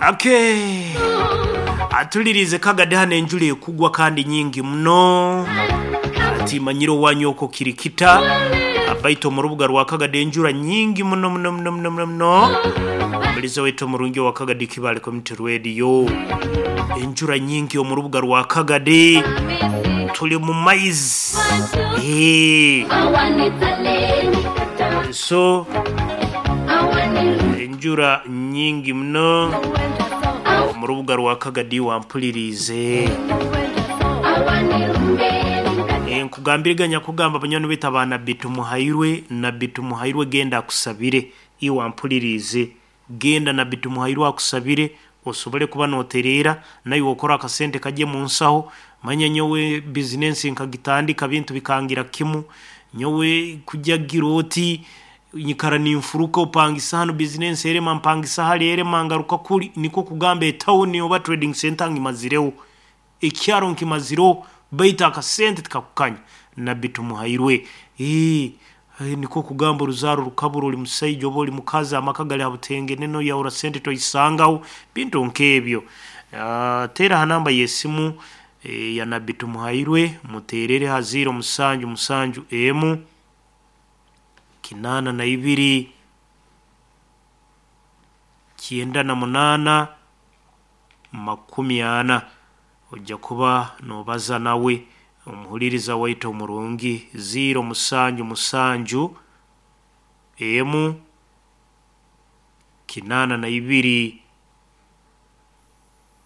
Ake atulirize kagade hano enjura ekugwa kandi nyingi muno timanyire owanyu okwo kiri kita baitu omu rubuga rwa Kagadi enjura nyingi muno muno muno muno muno muno omuliza waitu omurungi owa Kagadi Kibaale Community Radio enjura nyingi omu rubuga rwa Kagadi tuli mu maizi Eeh. So enjura nyingi muno omu rubuga rwa Kagadi wampuliriize. Eh, nkugambire ganya kugamba banywani baitu aba Nabbi Tumuhairwe, Nabbi Tumuhairwe genda akusabire. Iwe wampuliriize, genda Nabbi Tumuhairwe akusabire osobole kuba notereera naiwe okore akasente kagye mu nsaho. Manya nyowe bizinensi nkagitandika bintu bikangira kimu, nyowe kujagira oti nyikara ninfuruka opangisa hanu bizinensi erema mpangisa hali erema ngaruka kuri nikwo kugamba etawuni oba trading center ngimazireho. Ekyaro nkimazireho baitu akasente tikakukanya. Nabbi Tumuhairwe, Eeh, nikwo kugamba oruzaaro rukabura ori musaija oba ori mukazi amaka gari ha butengenene oyahura sente tozisangaho, bintu nk'ebyo. Teera aha namba y'esimu ya Nabbi Tumuhairwe muteerere ha ziiro musanju musanju emu, kinaana na ibiri, kyenda na munaana, makumi ana. Oija kuba noobaza nawe omuhuriiriza waitu omurungi ziiro musanju musanju emu, kinaana na ibiri,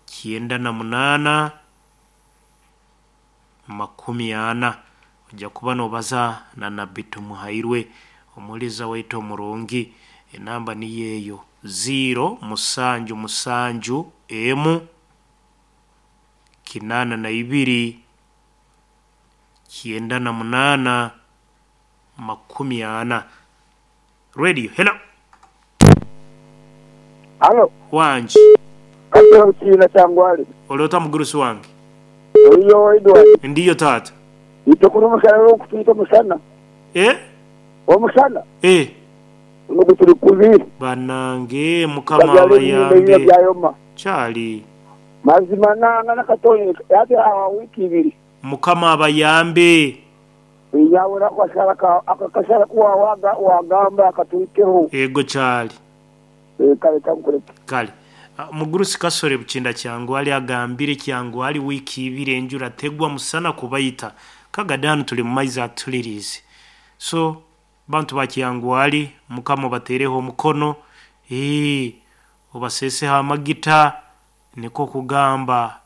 kyenda na munaana, makumi ana. Oija kuba noobaza na Nabbi Tumuhairwe omuhuriiriza waitu omurungi. Enamba niyo eyo ziiro musanju musanju emu, kinaana na ibiri, kyenda na munaana, makumi ana. Radio, hello. Halo. Wangi. Katera Bukiina Kyangwali. Oli ota mugurusi wange? Oriyo Edward? Ndiyo taata. Itwe kunu omushana n'ogukutwita omushana. Eh? Omushana? Eh. Guno guturi kubi. Banange mukama Babyara ebihimba ebimwe abayambe. byayoma. Kyali. Mazima nanga nakatonya hati hawa wiiki ibiri. Mukama abayambe. Yawe nako akashara ku wagamba katuhikeho. Ego kyali. Kale kankureke. Kale. Omugurusi Kasore Bukinda Kyangwali agambire Kyangwali wiiki ibiri enjura tegwa musana kubaita. Kagade hanu tuli mu maizi atuliriize. So bantu ba Kyangwali mukama obateereho omukono, eeh obaseeseho amagita nikwo kugamba.